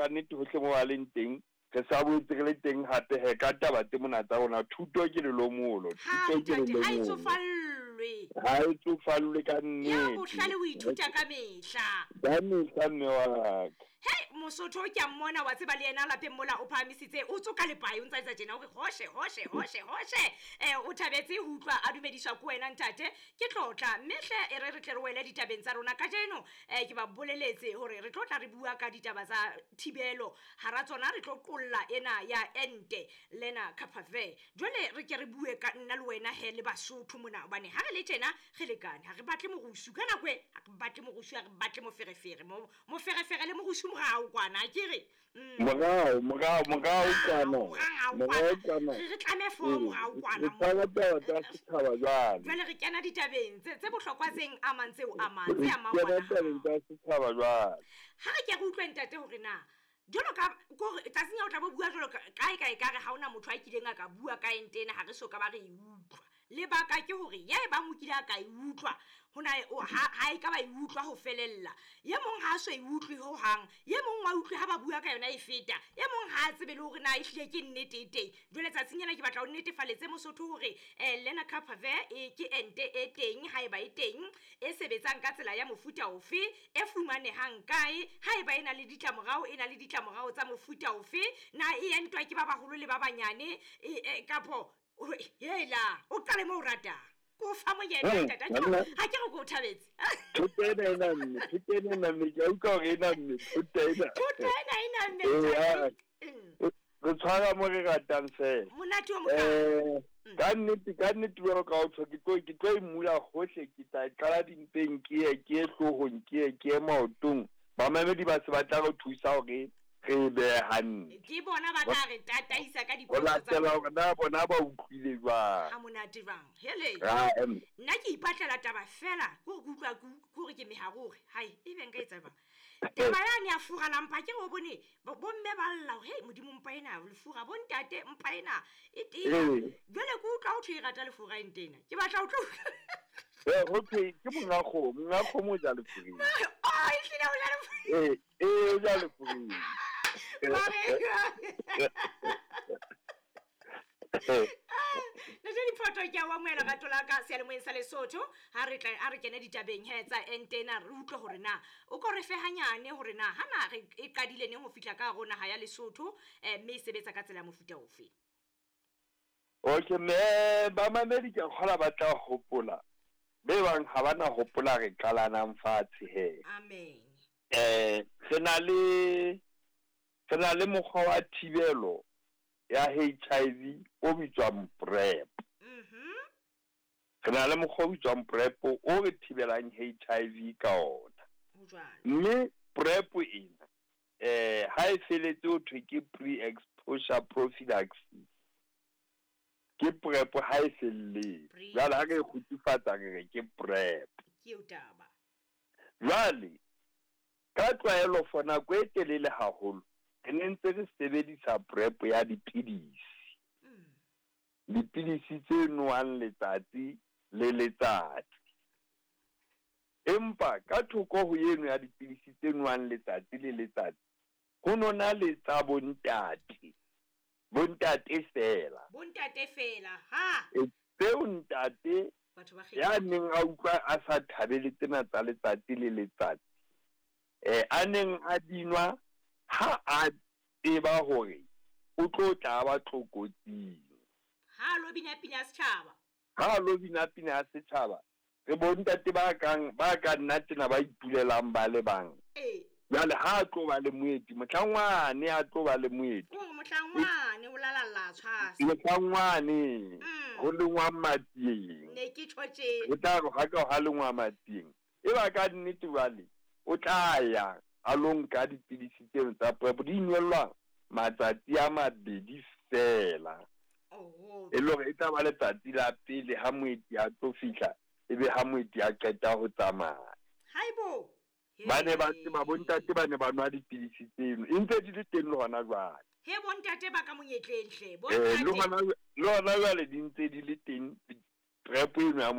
ka nnete hohle mo ba leng teng. Re sa boetse re le teng hape he ka taba tse mona tsa rona. Thuto ke lelomolo, Ha thuto ke ntate, ha e lelomolo. Tsofallwe. Ha e tsofallwe ka Ya nnete. bohlale o ithuta ka mehla. Ka mehla, mme wa ka. Hei, Mosotho ke a mmona, wa tseba le yena lapeng mola o phahamisitse, o tsoka lepae, o ntsa etsa tjena, o re hoshe, hoshe, hoshe, hoshe. O thabetse ho utlwa a dumediswa ke wena ntate, ke tlotla. Mme hle e re re tle re wele ditabeng tsa rona kajeno. Ke ba boleletse hore re tlo tla re bua ka ditaba tsa thibelo. Hara tsona re tlo qolla ena ya ente lena Capave. Jwale re ke re bue ka nna le wena he le Basotho mona, hobane ha re le tjena re lekane, ha re batle morusu ka nako e, ha re batle morusu, ha re batle moferefere. Moferefere le morusu morao kwana, ha ke re? Morao, morao, morao kwana. Morao Morao kwana. kwana. Re tlame fo morao kwana Re mo. tshwara taba tsa setjhaba jwale. Jwale re kena ditabeng tse bohlokwa tse amang, tseo amang, tse Re amang kena ngwana tabeng hao. tsa setjhaba jwale. Ha re ke re utlwe ntate hore na jwalo ka kore tsatsing ya o tla bo bua jwalo ka kae kae ka re ha hona motho a kileng a ka bua ka ente ena, ha re so ka ba re e utlwa. Lebaka ke hore ya e bang o kile a ka e utlwa, hona o, ha, ha e ka ba e utlwa ho felella. Ye mong ha a so e utlwe hohang, ye mong wa utlwe ha ba bua ka yona e feta, e mong ha a tsebe le hore na ehlile ke nnete e teng. Jwale tsatsing ena ke batla ho nnetefaletse Mosotho hore, Lenacapavir e ke ente e teng, haeba e teng, e sebetsang ka tsela ya mofuta ofe, e fumanehang kae, haeba e na le ditlamorao, e na le ditlamorao tsa mofuta ofe, na e entwa ke ba baholo le ba banyane, kapo, hela, o qale moo o ratang. Ke o fa monyetla, ntate. Ha ke re ke o thabetse. Thuto ena e namme, thuto ena e namme, ke a utlwa hore e namme, thuto ena. Thuto ena e namme, Ee, ntate. ha. Re tshwara mo re ratang fela. Monate o mokalo. Ka nnete, ka nnete jwalo ka o tjho, ke tlo e mmula hohle, ke tla qala dimpeng, ke ye, ke ye hloohong, ke ye, ke ye maotong. Bamamedi ba se ba tla re thusa hore re e behe hantle. Ke bona ba tla re tataisa ka Ho dipotso tsa latela hore na bona ba utlwile jwang. Ha monate jwang. Hele. Ra, em. Nna ke ipatlela taba fela, ke hore ke utlwa ke ke hore ke meharo hore, hai, ebe nka etsa jwang. Taba yane ya fura la mpa, ke re o bone, bomme ba lla hore, hei, Modimo, mpa ena, lefura, bontate, mpa ena, e tena. Jwale ke utlwa ho thwe e rata lefura ente ena. Ke batla ho tlo utlwa. Ho thwe ke monga kgomo, monga kgomo o ja lefureng. Oh, ehlile o ja lefureng. O ja lefureng. Ntate Diphoto, ke a o amohela rato la ka seyalemoyeng sa Lesotho. Ha re tla, ha re kene ditabeng he tsa ente ena, re utlwe hore na o ko re fe hanyane hore na hana re e qadile neng ho fihla ka hare ho naha ya Lesotho, mme e sebetsa ka tsela ya mofuta ofe. Okay, mme bamamedi ke a kgolwa ba tla hopola. Be bang ha ba na hopola re qalanang fatshe he. Amen. Re na le mokgwa wa thibelo ya HIV o bitswang PrEP. Re na le mokgwa o bitswang PrEP o re thibelang HIV ka ona. Ho jwalo. Mme PrEP ena, ha e feletse ho thwe ke pre-exposure prophylaxis. Ke PrEP ha e felletse. Pre- Jwale ha re e kgutsufatsa re re ke PrEP. Ke eo taba. Jwale ka tlwaelo for nako e telele haholo re ne ntse re sebedisa PrEP ya dipidisi. Dipidisi tse nowang letsatsi le letsatsi. Empa ka thoko ho eno ya dipidisi tse nowang letsatsi le letsatsi, ho nona le tsa bontate. Bontate fela. Bontate fela, ha. Tseo ntate Batho ba ya kgetha. neng a utlwa a sa thabele tsena tsa letsatsi le letsatsi. A neng a dinwa ha a tseba hore o tlo tla ba tlokotsing. Ha lo bina pina ya setjhaba. Ha lo bina pina ya setjhaba, re bontate ba kang, ba ka nna tjena ba itulelang ba le bang. Jwale ha a tlo ba le moeti, mohlangwane a tlo ba le moeti. Kore mohlangwane o lalalla tshwasa. Mohlangwane, ho lengwa matsieng. Ne ke tjho tje. O tla re ha ka ha lengwa matsieng. E ba ka nnete jwale, o tla ya a lo nka dipidisi tseno tsa PrEP, di inwellwa matsatsi a mabedi fela. Oho. E le hore e tla ba letsatsi la pele ha moeti a tlo fihla, ebe ha moeti a qeta ho tsamaya. Haibo. Ba ne ba tseba, bontate ba ne ba nwa dipidisi tseno, e ntse di le teng le hona jwale. He bontate ba ka monyetleng hle, Le bontate. hona, le hona jwale di ntse di le teng PrEP eno ya